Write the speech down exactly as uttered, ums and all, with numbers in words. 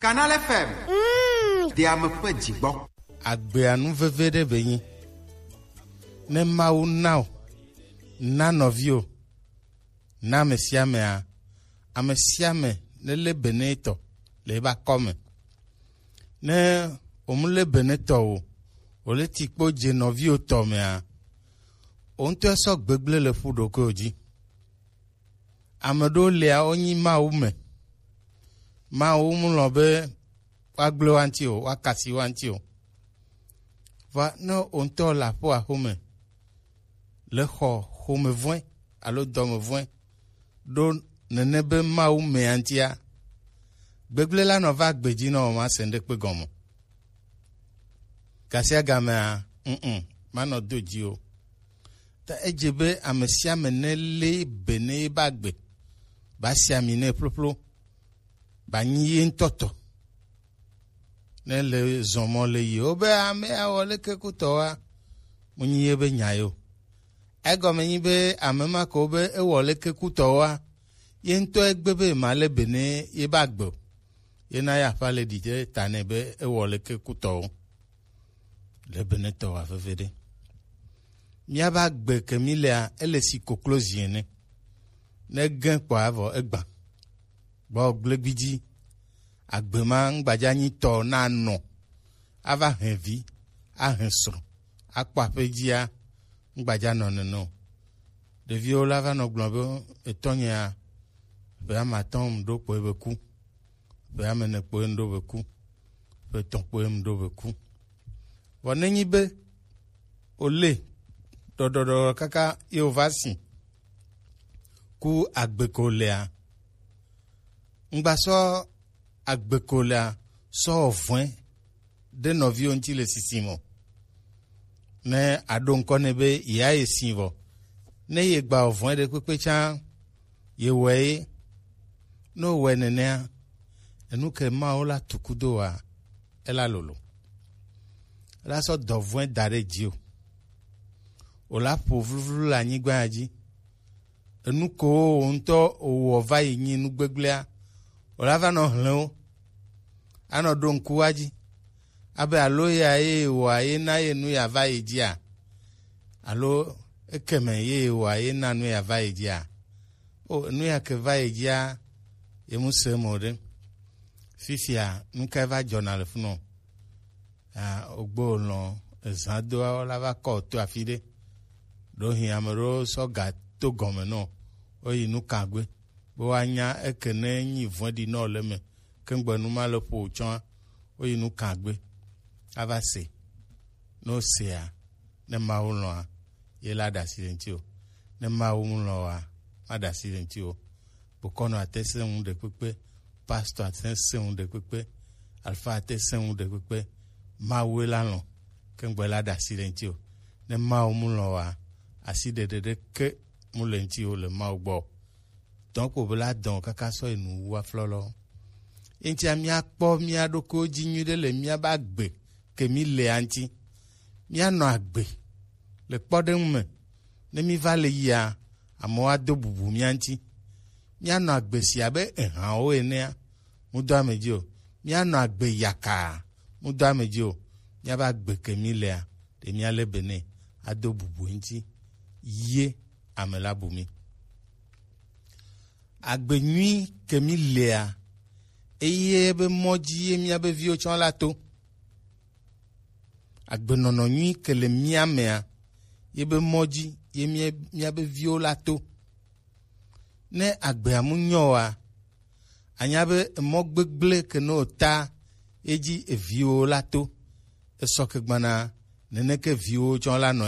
Canal F M. Mm. De ame ƒe dzigbɔ. Agbea nu veve ɖe be nyi. Ne Mawu na o, na nɔviwo, na ame sia amea, ame sia ame ne lé be ne etɔ le ebe akɔme. Ne wòmu lé be ne tɔ o, wòle ti kpo dze nɔviwo tɔ mea, wò ŋutɔ sɔ gbegblẽ le ƒu ɖokuiwò dzi. Ame ɖewo lia, wonyi Mawu me. Mawu mu lɔ̃ be woagblẽ wo ŋuti o, woakasi wo ŋuti o. Vɔa ne wò ŋutɔ le aƒo axome, le xɔ xomevɔ̃e alo dɔmevɔ̃e ɖo nene be Mawu mea ŋutia, gbegblẽ la nɔ va gbe dzi nɔ wò, masẽ ŋɖekpe gɔme o. Gasiagamea, mm, manɔ do dzi o. Ta edze be ame sia ame nelé be ne ebe agbe, ba si ami nɛ ƒloƒlo, ba nyi ye ŋutɔ tɔ. Ne le zɔmɔ le yi, wobe ame awɔ leke kutɔwoa, mu nyi ye be nya yo. Egɔme nyi be ame ma ko be ewɔ leke kutɔwoa, ye ŋutɔ egbe be ma le be ne ye be agbe o. Ye na ya ƒã le ɖi ɖe ta nɛ be ewɔ leke kutɔwo. Le be ne tɔ wa veve ɖe. Míabe agbe ke mí lea, ele si koklo zi ene. Ne gẽ kpɔa vɔ egbã. Gbɔ gble gbidzi. Agbe ma ŋgbadza nyi tɔ na nɔ. Ava hɛn vi, ahɛn srɔ̃, akpɔ aƒe dzia, ŋgbadza nɔ nene o. Ɖeviwo la va nɔ gblɔ be etɔnyea, ƒe ame atɔ̃ ŋu ɖo kpoe be ku. Ƒe ame ene kpoe ŋu ɖo be ku. Ƒe etɔ̃ kpoe ŋu ɖo be ku. Vɔ nenyi be wòle ɖɔɖɔɖɔɖɔ kaka ye wòva si ku agbe ko lea, ŋgbasɔ agbe ko lea sɔ wɔ vɔ̃e ɖe nɔviwo ŋuti le sisim o. Ne aɖo ŋkɔ nɛ be yeayi si vɔ, ne yegba wɔ vɔ̃e ɖekpekpe tsã, yewɔe ye. Ne wòwɔe nenea, enu ke Mawu la tu kudo wa, ela lolo. Ela sɔ dɔ vɔ̃e da ɖe dzi o. Wòla ƒo vluvlu le anyigba ya dzi. Enu ko wò ŋutɔ wòwɔ va yi nyi nu gbegblẽa, wòla va nɔ hlẽ wo. Anɔ ɖo ŋku wa dzi. Abe alo ya ye wòa ye na ye nu ya va yi dzia? Alo ekeme ye wòa ye na nu ya va yi dzia? O, nu ya ke va yi dzia, ye mu se mo ɖe. Fifia, nu kae va dzɔna le funɔ? Ah, ogbo lɔ̃ ezã doa la va kɔ to afi ɖe. Ɖo hin ame ɖewo sɔ ga to gɔme nɔ, woyi nu kagbe, be woanya eke ne nyi vɔ̃ɖi nɔ le me, ke ŋgbe nu ma le ƒo tsɔa, woyi nu kagbe, ava se. Ne wosea, ne Mawu lɔ̃a, ye la ɖe asi le ŋuti o. Ne Mawu mu lɔ̃ oa, maɖe asi le ŋuti o. Bokɔnɔ ate sẽ ŋu ɖekpekpe, pastor ate sẽ ŋu ɖekpekpe, alfa ate sẽ ŋu ɖekpekpe, Mawu la lɔ̃, ke ŋgbe la ɖe asi le ŋuti o. Ne Mawu mu lɔ̃ oa, asi ɖeɖe ɖeke mu le ŋuti o le Mawu gbɔ o. Dɔn kpo be la dɔn kaka sɔ yi nu wu aflɔlɔ. Eŋtia míakpɔ mía ɖokuiwo dzi nyuiɖe le míabe agbe ke mí lea ŋuti. Míanɔ agbe le kpɔɖeŋu me. Ne míva le yia, amewo ado bubu mía ŋuti. Míanɔ agbe si abe ehãwo enea, mudo ame dzi o. Míanɔ agbe yakaa, mudo ame dzi o. Míabe agbe ke mí lea, ɖe míalé be nɛ ado bubu eŋuti, ye ame la bu mí. Agbe nyui ke mí lea, eye be mɔ dzi ye míabe viwo tsɔ la to. Agbenɔnɔ nyui ke le mía mea, ye be mɔ dzi ye mía, míabe viwo la to. Ne agbea mu nyɔ oa, anya be emɔ gbegblẽ ke ne wòta ye dzi eviwo la to. Esɔ ke gbana, neneke viwo tsɔ la nɔ